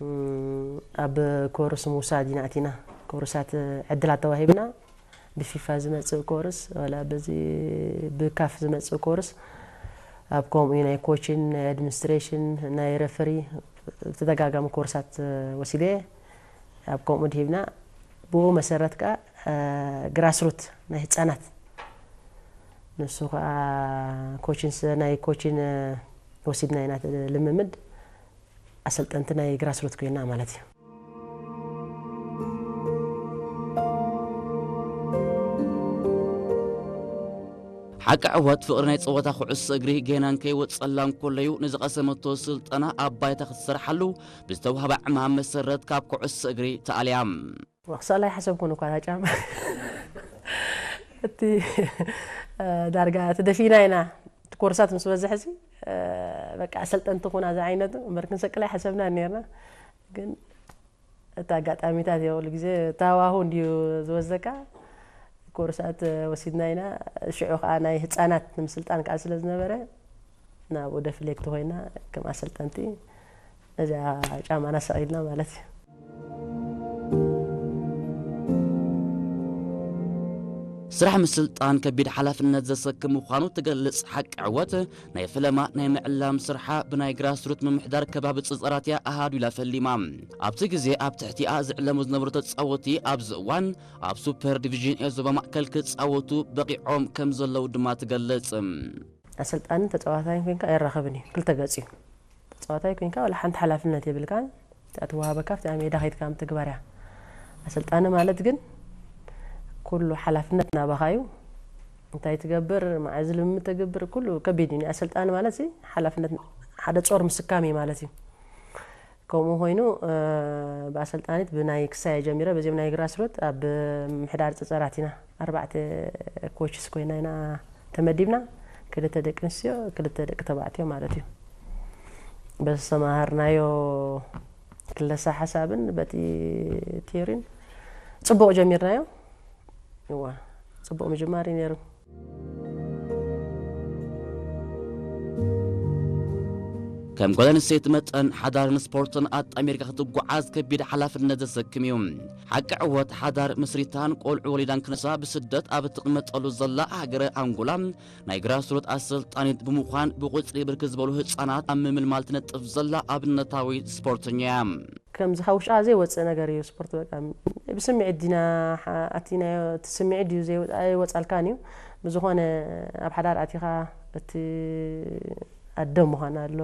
እም፣ ኣብ ኮርስ ምውሳድ ኢና ኣቲና። ኮርሳት ዕድላት ተዋሂብና፣ ብፊፋ ዝመጽእ ኮርስ፣ ዋላ በዚ ብካፍ ዝመጽእ ኮርስ፣ ኣብ ከምኡ ናይ ኮችን፣ ናይ ኣድሚኒስትሬሽን፣ ናይ ረፈሪ፣ ተደጋጋሚ ኮርሳት ወሲደ፣ ኣብ ከምኡ ድሂብና፣ ብኡ መሰረት ከኣ፣ እ፣ ግራስሩት ናይ ህጻናት፣ ንሱ ከኣ ኮችን ስ-፣ ናይ ኮችን፣ እ፣ ወሲድና ኢና ልምምድ። ኣሰልጠንቲ ናይ ግራስሩት ኮይና ማለት እዩ። ሓቂ ዕወት ፍቕሪ ናይ ጸወታ ኩዕሶ እግሪ ጌና እንከይወጸላ እንከሎ እዩ ንዝቐሰመቶ ስልጠና ኣብ ባይታ ክትሰርሓሉ ብዝተዋህባ ዕማም መሰረት ካብ ኩዕሶ እግሪ ተኣልያ። ክስእላ ኣይሓሰብኩን እኳ እታ ጫማ። እቲ፣ እ፣ ዳርጋ ተደፊእና ኢና። እቲ ኮርሳት ምስ በዝሐ ሲ፣ እ፣ በቃ ኣሰልጠንቲ ኩና ዝዓይነቱ እምበር ክንሰቅል ኣይሓሰብናን ነርና። ግን እቲ ኣጋጣሚታት እዮ፣ ኩሉ ግዜ ታዋሁ እንድዩ ዝወስደካ። ኮርሳት ወሲድና ኢና። ሽዑ ከኣ ናይ ህጻናት ንምስልጣን ከኣ ስለ ዝነበረ፣ ናብኡ ደፍሌክት ኮይና ከም ኣሰልጠንቲ ነዚኣ ጫማና ሰቒልና ማለት እዩ። ስራሕ ምስልጣን ከቢድ ሓላፍነት ዘሰክም ምዃኑ ትገልጽ ሓቂ ዕወት፣ ናይ ፈለማ ናይ ምዕላም ስርሓ ብናይ ግራስሩት ምምሕዳር ከባቢ ጽጸራት እያ ኣሃዱ ኢላ ፈሊማ። ኣብቲ ግዜ ኣብ ትሕቲኣ ዝዕለሙ ዝነበሩ ተጻወቲ ኣብዚ እዋን ኣብ ሱፐር ዲቪዥን ኤ ዞባ ማእከል ክጻወቱ በቒዖም ከም ዘለዉ ድማ ትገልጽ። ኣሰልጣንን ተጻዋታይን ኮንካ ኣይራኸብን እዩ፣ ክልተ ገጽ እዩ። ተጻዋታይ ኮንካ ዋላ ሓንቲ ሓላፍነት የብልካን፣ እታ ትወሃበካ ኣብቲ ሜዳ ከይድካ ምትግባር እያ። ኣሰልጣኒ ማለት ግን ኩሉ ሓላፍነት ናባኻ እዩ። እንታይ ትገብር፣ መዓዝ ልምምድ ተግብር፣ ኩሉ ከቢድ እዩ። ኣሰልጣኒ ማለት ሲ ሓላፍነት ሓደ ጾር ምስካም እዩ ማለት እዩ። ከምኡ ኮይኑ፣ እ፣ ብኣሰልጣኒት ብናይ ክሳየ ጀሚረ፣ በዚኦም ናይ ግራስሩት ኣብ ምሕዳር ጸጸራት ኢና። ኣርባዕተ ኮችስ ኮይና ኢና ተመዲብና። ክልተ ደቂ ኣንስትዮ፣ ክልተ ደቂ ተባዕትዮ ማለት እዩ። በዚ ዝተማሃርናዮ ክለሳ ሓሳብን በቲ ቲዮሪን ጽቡቕ ጀሚርናዮ። እዋ፣ ጽቡቕ ምጅማር እዩ ነይሩ። ከም ጓል ኣንስተይቲ መጠን ሓዳርን ስፖርትን ኣጣሚርካ ክትጓዓዝ ከቢድ ሓላፍነት ዘሰክም እዩ። ሓቂ ዕወት ሓዳር መስሪታን ቆልዑ ወሊዳን ክነሳ ብስደት ኣብ እትቕመጠሉ ዘላ ሃገረ ኣንጎላ ናይ ግራስሩት ኣሰልጣኒት ብምዃን ብቁጽሪ ብርክት ዝበሉ ህጻናት ኣብ ምምልማል ትነጥፍ ዘላ ኣብነታዊት ስፖርተኛ እያ። ከምዚ ካብ ውሽጥኻ ዘይወፅእ ነገር እዩ ስፖርት። በቃ ብስምዒት ዲና ሓ- ኣቲናዮ፣ እቲ ስምዒት ድዩ ዘይወ- ኣይወፃልካን እዩ። ብዝኾነ ኣብ ሓዳር ኣቲኻ እቲ ኣደ ምዃን ኣሎ፣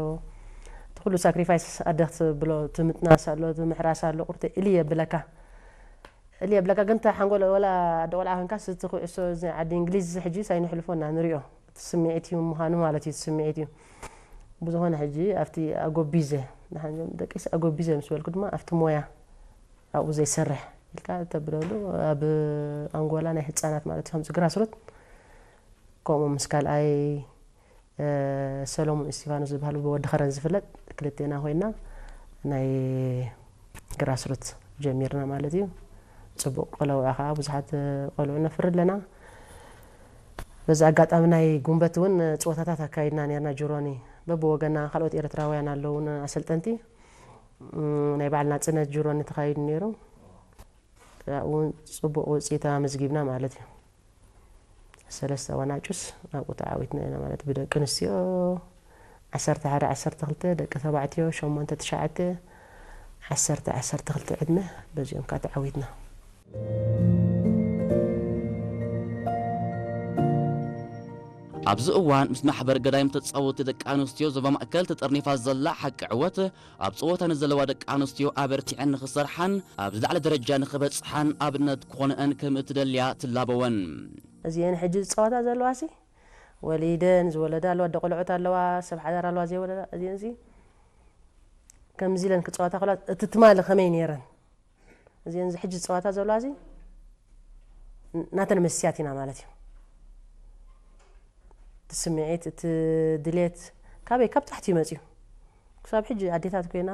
እቲ ኩሉ ሳክሪፋይስ ኣደ ክትብሎ፣ እቲ ምጥናስ ኣሎ፣ እቲ ምሕራስ ኣሎ፣ ቁርተ እሊ የብለካ እሊ የብለካ። ግን እታ ሓንጎል ወላ ኣደ ቆልዓ ኮንካ ስቲ ኩዕሶ እዚ ዓዲ እንግሊዝ እዚ ሕጂ ሳይንሕልፎ እና ንሪኦ። እቲ ስምዒት እዩ ምዃኑ ማለት እዩ። እቲ ስምዒት እዩ። ብዝኾነ ሕጂ ኣብቲ ኣጎቢዘ፣ ንሓንጆም ደቂስ ኣጎቢዘ ምስ በልኩ ድማ ኣብቲ ሞያ ኣብኡ ዘይሰርሕ ኢልካ ተብለሉ፣ ኣብ ኣንጎላ ናይ ህፃናት ማለት እዩ። ከምዚ ግራስሩት ከምኡ ምስ ካልኣይ፣ እ፣ ሰሎሞን እስቲፋኖስ ዝበሃል ብወዲ ኸረን ዝፍለጥ ክልቴና ኮይና ናይ ግራስሩት ጀሚርና ማለት እዩ። ፅቡቕ ቆለውዓ ከዓ ብዙሓት ቆልዑ ነፍሪ ኣለና። በዚ ኣጋጣሚ ናይ ጉንበት እውን ፀወታታት ኣካይድና ነርና። ጅሮኒ በብወገና ካልኦት ኤርትራውያን ኣለውን ኣሰልጠንቲ። እም፣ ናይ በዓል ናፅነት ጅሮኒ ተኻይዱ ነይሩ። ኣብኡ እውን ፅቡቕ ውፅኢት ኣመዝጊብና ማለት እዩ። ሰለስተ ዋናጩስ ኣብኡ ተዓዊትና ኢና ማለት ብደቂ ኣንስትዮ ዓሰርተ ሓደ ዓሰርተ ክልተ፣ ደቂ ተባዕትዮ ሸሞንተ ትሽዓተ፣ ዓሰርተ ዓሰርተ ክልተ ዕድመ በዚኦም ከዓ ተዓዊትና። ኣብዚ እዋን ምስ ማሕበር ገዳይም ተጻወቲ ደቂ ኣንስትዮ ዞባ ማእከል ተጠርኒፋ ዘላ ሓቂ ዕወት ኣብ ጸወታ ንዘለዋ ደቂ ኣንስትዮ ኣበርቲዐን ንኽሰርሓን ኣብ ዝለዓለ ደረጃ ንኽበጽሓን ኣብነት ክኾነአን ከም እትደልያ ትላበወን። እዚአን ሕጂ ዝጸወታ ዘለዋ ሲ ወሊደን ዝወለዳ ኣለዋ፣ ኣደ ቆልዑት ኣለዋ፣ ሰብ ሓዳር ኣለዋ ዘይወለዳ። እዚአን ሲ ከምዚ ኢለን ክጸወታ ከለዋ እቲ ትማሊ ከመይ ነይረን? እዚአን እዚ ሕጂ ዝጸወታ ዘለዋ ሲ ናተን መስትያት ኢና ማለት እዩ። እቲ ስምዒት፣ እቲ ድሌት ካበይ? ካብ ታሕቲ እዩ መጺኡ። ክሳብ ሕጂ ኣዴታት ኮይና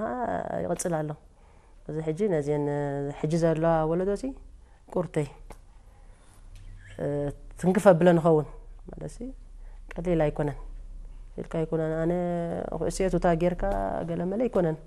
ይቕጽል ኣሎ። እዚ ሕጂ ነዚአን ሕጂ ዘለዋ ወለዶ ሲ ቁርተይ፣ እ፣ ትንክፍ ኣብለን ንኸውን ማለት ሲ ቀሊል ኣይኮነን። ኢልካ ኣይኮነን። ኣነ ኩዕሶ ቱታ ጌርካ ገለ መለ ኣይኮነን።